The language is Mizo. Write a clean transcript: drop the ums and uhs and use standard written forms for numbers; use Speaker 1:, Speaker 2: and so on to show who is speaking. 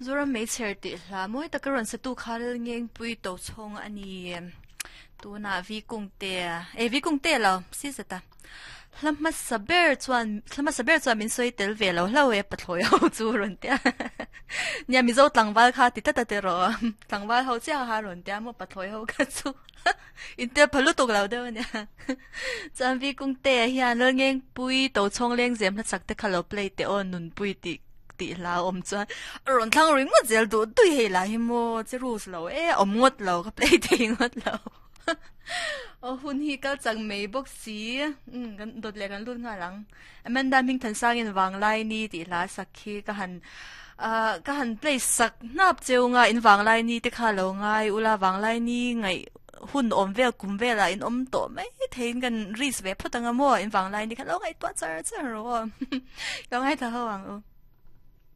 Speaker 1: Zoram Meichher tih hla mawi taka rawn satu kha Lalngengpui Tochhawng a ni. Tunah Vi Kungte, eh Vi Kungte lo, si zeta. Hla hmasa ber chuan, hla hmasa ber chuan min sawi tel ve lo hlo e pathlawi ho chu rawn tia. Nia Mizo tlangval kha ti tlat a ti rawh. Tlangval ho chiah kha rawn tia maw pathlawi ho kha chu. Intel pha lutuk lo deuh a nia. Chuan Vi Kungte hian Lalngengpui Tochhawng lengzem hla chak te kha lo play teh aw Nunpui tih tih hla a awm chuan a rawn thlang ri ngawt zel duh dui hei lah hi maw che rules lo e a awm ngawt lo ka play thei ngawt lo aw hun hi kal chak mai bawk si umm kan dawt leh kan lut nghal ang Amanda Hmingthansangin Vanglai ni tih hla sak khi ka han ah ka han play sak hnap cheu nga in Vanglai ni te kha lo ngai ula Vanglai ni ngaih hun awm vel kum velah in awm tawh mai theiin kan risk ve phawt anga maw in Vanglai ni kha lo ngaihtuah char char rawh aw lo ngaithla ho ang u.